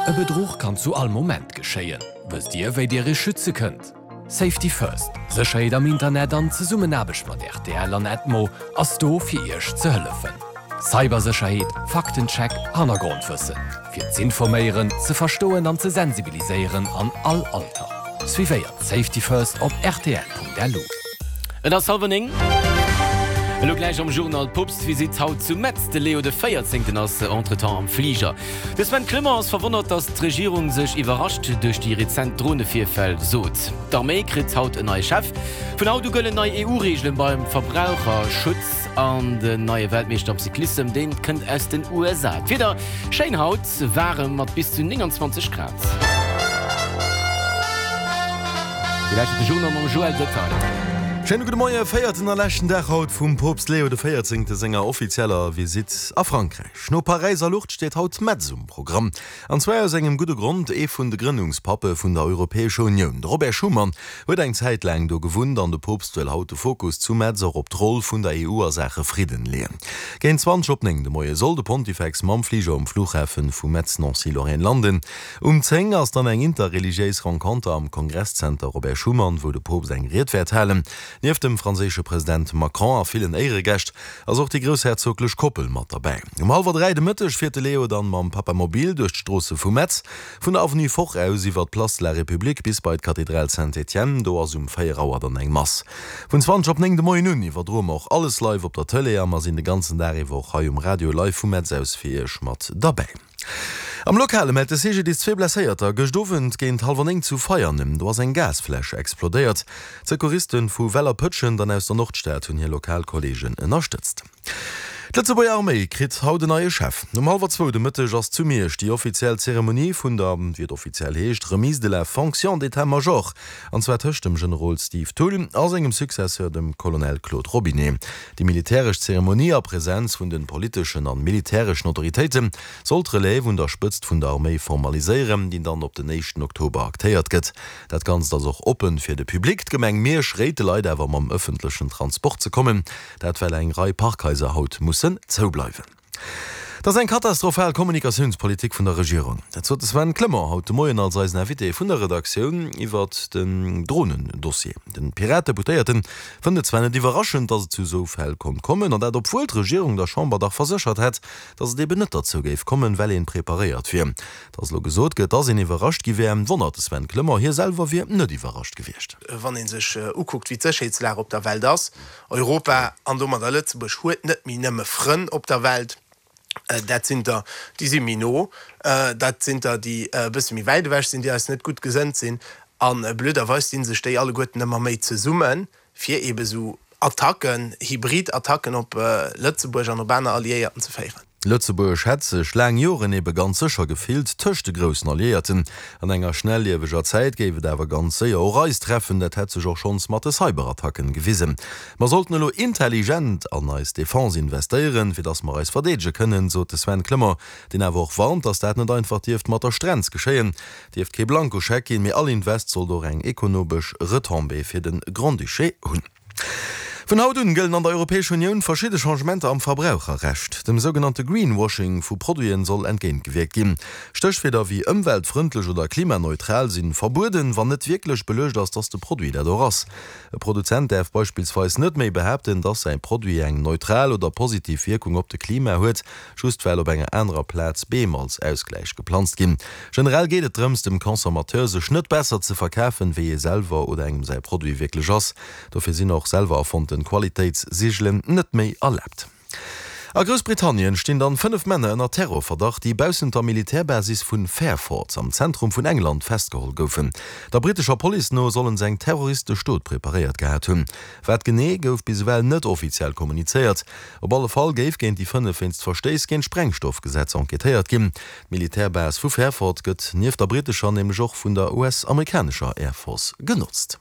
E Bedruch kann zu all Moment geschéien. Wësst Dir, wéi Dir Iech schütze kënnt? Safety First, Sécherheet am Internet an Zesummenaarbecht mat rtl an Edmo ass do fir Iech ze hëllefen. Cybersécherheet, Faktencheck, Hannergrondwëssen. Fir z'informéieren, ze verstoen an ze sensibiliséieren an all Alter. Suivéiert Safety First op rtl.lu. Et ass hallwer 9. Elo gläich am Journal d'Poopstvisitt haut zu Metz. De Leo de Véierzéngten ass entretemps am Fliger. De Sven Clement ass verwonnert, datt d'Regierung sech iwwerrascht duerch déi rezent Dronevirfäll sot. D'Arméi kritt haut en neie Chef. Vun haut u gëllen nei EU-Reegelen beim Verbraucherschutz. An den neie Weltmeeschter am Cyclissem, dee kënnt aus den USA. D'Wieder, Schéin haut, waarem mat bis zu 29 Grad. Dir lauschtert de Journal mam Joël Detaille. Schéine gudde Moie, Véierten a leschten Dag haut vum Poopst Leo de Véierzéngte senger offizieller Visitt a Frankräich. No Paräis a Lourdes steet haut Metz um Programm. An zwar aus engem gudde Grond, Ee vun de Grënnungspappe vun der Europäescher Unioun, de Robert Schuman, huet eng Zäit laang do gewunnt an de Poopst wëll haut de Fokus zu Metz och op d'Roll vun der EU a Saache Fridden leeën. Géint 20 op 9 de Moie soll de Pontifex mam Fliger um Flughafen vu Metz-Nancy-Lorraine landen. Um 10 ass dann eng interreligiéis Renconter am Kongresszenter Robert Schuman, wou de Poopst eng Ried wäert halen. Nieft dem franséische President Macron a villen Éieregäscht ass och déi groussherzoglech Koppel mat derbäi. Um hallwer 3 de Mëtteg fiert de Leo dann mam Papamobil duerch d'Stroosse vu Metz, vun der Avenue Foch aus iwwer d'Place de la République bis bei d'Kathedral Saint-Étienne. Do ass um 4 Auer dann eng Mass. Vun 20 op 9 de Moien un iwwerdroe mer och alles live op der Tëlee a mer sinn de ganzen Dag iwwer och hei um Radio live vu Metz aus fir iech mat derbäi. Am Lokale mellt de CGDIS zwee Blesséierter gëscht Owend géint hallwer 9 zu Veianen. Do ass eng Gasfläsch explodéiert. D'Secouristen vu Weller-Pëtschent an aus der Nordstad hunn hir lokal Kolleegen ënnerstëtzt. D'Lëtzebuerger Arméi kritt haut en neie Chef. Um hallwer zwou de Mëtteg ass zu Miersch déi offiziell Zeremonie vun der, wéi et offiziell heescht, Remise de la fonction d'état-major, an zwar tëscht dem Generol Steve Thull a sengem Successeur, dem Colonel Claude Robinet. Déi militäresch Zeremonie a Presenz vun de politeschen an militäreschen Autoritéite soll d'Relève un der Spëtzt vun der Arméi formaliséieren, déi dann op den éischten Oktober aktéiert gëtt. Dat Ganzt ass och oppen fir de Public. D'Gemeng Miersch réit de Leit awer mam ëffentlechen Transport ze kommen, dat well eng Rei Parkhaiser haut mussen zoubleiwen. Et ass eng katastrophal Kommunikatiounspolitik vun der Regierung. Dat sot de Sven Clement haut de Moien als eisen Invité vun der Redaktioun iwwert den Dronen-Dossier. Den Pirat-Deputéierten fënnt et zwar net iwwerraschend, datt et zu esou Fäll konnt kommen, an dat obwuel d'Regierung der Chamber dach verséchert hätt, datt et eben net derzou géif kommen, well een preparéiert wier. Datt elo gesot gëtt, datt een iwwerrascht gi wär, wonnert de Sven Clement. Hie selwer wier net iwwerrascht gewiescht. Wann ee sech ukuckt, wéi d'Sécherheetslag op der Welt ass, Europa an domadder Lëtzebuerg huet net méi nëmme Frënn op der Welt. Dat sinn der, déi si méi no, dat sinn der, déi e bësse méi wäit ewech sinn, déi eis net gutt gesënnt sinn. A blöderweis di sech déi alleguerten ëmmer méi zesummen, fir eebe sou Attacken, hybrid Attacken op Lëtzebuerg an op aner Alliéierten ze féieren. Lëtzebuerg hätt sech laang Joren ebe ganz sécher gefillt tëscht de groussen Alliéierten. An enger schnellieweger Zäit géif et awer ganz séier och eis treffen. Dat hätt sech och schonns mat de Cyberattacken gewisen. Mer sollten elo intelligent an eis Defense investéieren, fir datt mer eis verdeedege kënnen, sot de Sven Clement, deen awer och warnt, datt dat net einfach dierft mat der Strenz geschéien. Dierft kee Blankoscheck ginn, mee all Invest sollt och eng ekonobesch Retombée fir de Grand-Duché hunn. Vun haut un gëllen an der Europäescher Unioun verschidde Changementer am Verbraucherrecht. Dem sougenannte Greenwashing vu Produiten soll entgéintgewierkt ginn. Stéchwierder wéi ëmweltfrëndlech oder klimaneutral si verbueden, wann net wierklech beluecht ass, dass de Produit dat och ass. E Produzent däerf beispillsweis net méi behaapten, dass säi Produit eng neutral oder positiv Wierkung op de Klima huet, just well op enger anerer Plaz Beem als Ausgläich geplanzt ginn. Generell geet et drëms, dem Consommateur sech net besser ze verkafen, wéi ee selwer oder engem säi Produit wierklech ass. Dofir sinn och selwer erfonnten Qualitéitssigelen net méi erlaabt. A Groussbritannien stinn dann 5 Männer ënner Terrorverdacht, déi baussent der Militärbasis vun Fairford am Zentrum vun England festgeholl goufen. Der brittescher Police no sollen se eng terroristesch Dot preparéiert gehat hunn. Wat genee, gouf bis ewell net offiziell kommunizéiert. Op alle Fall géif géint déi 5 wéinst Verstéiss géint d'Sprengstoffgesetz enquêtéiert ginn. D'Militärbase vu Fairford gëtt nieft der brittescher nämlech och vun der US-amerikanescher Air Force genotzt.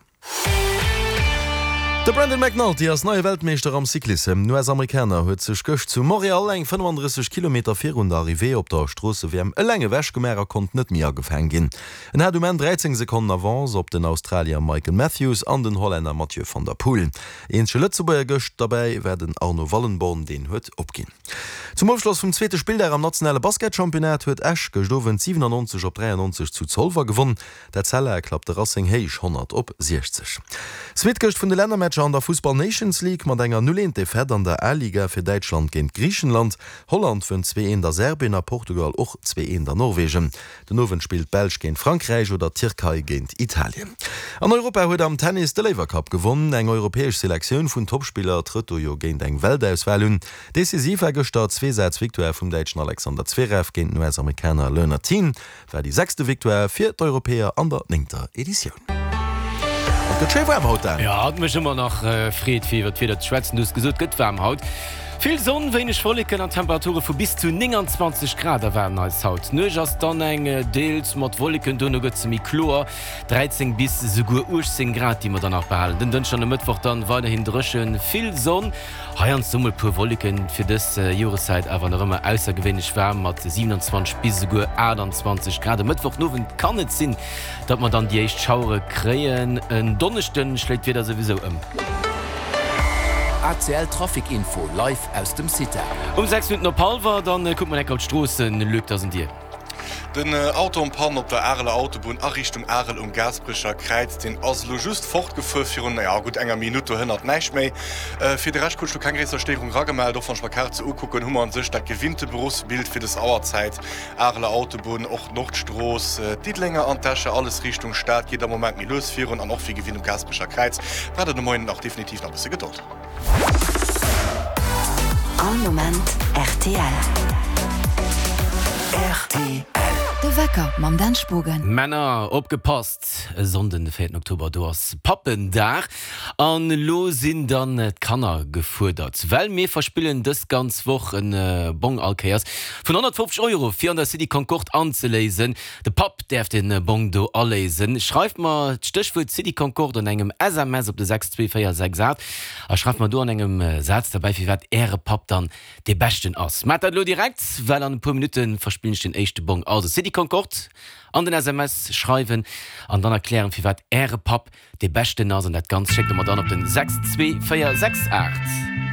De Brandon McNulty ass neie Weltmeeschter am Cyclissem. Den US-Amerikaner huet sech gëscht zu Montréal eng 35 Kilometer virun der Arrivée op der Stroosse-WM eleng ewech gemaach a konnt net méi agefaang ginn. En hat um Enn 13 Sekonnen Avance op den Australier Michael Matthews an den Hollänner Mathieu van der Poel. Eenzege Lëtzebuerger gëscht derbäi war den Arno Wallenborn, deen huet opginn. Zum Ofschloss vum zweete Spilldag am nationale Basketchampionnat huet Esch gëscht Owend 97 op 93 zu Zolwer gewonn. D'Etzella klappt de Racing héich 100 op 60. Suite gëscht vun de Lännermatcher an der Fussball Nations League mat enger 0 1 Defaite an der A-Liga fir Däitschland géint Griichenland. Holland wënnt 2 1 a Serbien a Portugal och 2 1 a Norwegen. Den Owend spillt d'Belsch géint Frankräich oder d'Tierkei géint Italien. An Europa huet am Tennis de Laver Cup gewonn. Eng europäesch Selektioun vun Toppspiller trëtt do jo géint eng Weltauswal un. Decisiv war gëschter d'Zweesaz-Victoire vum Däitschen Alexander Zverev géint den US-Amerikaner Leonard Thiem. War déi sechste Victoire fir d'Europäer an der néngter Editioun. Et gëtt schéi waarm haut, Dan. Jo, et mécht ëmmer nach Freed fir iwwer d'Wieder ze schwätzen. Du hues gesot, et gëtt waarm haut. Vill Sonn, wéineg Wolleken an Temperature vu bis zu 29 Grad erwaarden eis haut. D'Nuecht ass dann eng deels mat Wolleken, duerno gëtt se méi kloer. 13 bis esouguer 18 Grad déi mer dann nach behalen. Den Dënschden an e Mëttwoch dann weiderhin dréchen, vill Sonn. Heiansdo mol puer Wolleken, fir dës Joreszäit awer nach ëmmer aussergewéinlech waarm mat 27 bis esouguer 28 Grad. E Mëttwochnowend kann et sinn, datt mer dann déi éischt Schauere kréien. En Donneschden schléit d'Wieder souwisou ëm. ACL Trafic Info live aus dem CITA. Um 6 Minutten op hallwer, dann kucke mer enk op d'Stroossen. Luc, dat ass un dir. Den Auto en panne op der Areler Autobunn a Richtung Arel um Gaasperecher Kräiz, deen ass elo just fortgefuer virun, naja, gutt enger Minutt. Do hënnert näischt méi. Fir de Rescht krut ech lo keng gréisser Stéierung ragemellt. Och wann ech mer d'Kaart sou ukucken, hu mer an sech dat gewinnte Beruffsbild fir des Auerzäit. Areler Autobunn, och d'Nordstrooss, d'Diddelenger an d'Escher, alles Richtung Stad geet am Moment méi lues virun an och wéi gewinnt um Gaasperecher Kräiz braucht et de Moien och definitiv nach e bësse Gedold. All Moment rtl. Rtl. De Wecker mam Dan Spogen. Männer, opgepasst! E Sonnden, de véierten Oktober, do ass Pappendag. An elo sinn dann d'Kanner gefuerdert, well mir verspillen dës ganz Woch e Bong all Kéiers vun 150 Euro fir an der City Concorde anzeléisen. De Papp däerf den Bong do aléisen. Schreift mer d'Stéchwuert City Concorde an engem SMS op de 62468 a schreift mer do an engem Saz derbäi firwat äre Papp dann dee beschten ass. Maacht dat elo direkt, well an e puer Minutte verspillen ech den éischte Bong. Also City Concorde an den SMS schreiwen an dann erklären firwat äre Papp dee beschten ass an dat Ganzt schéckt der mer dann op den 62468.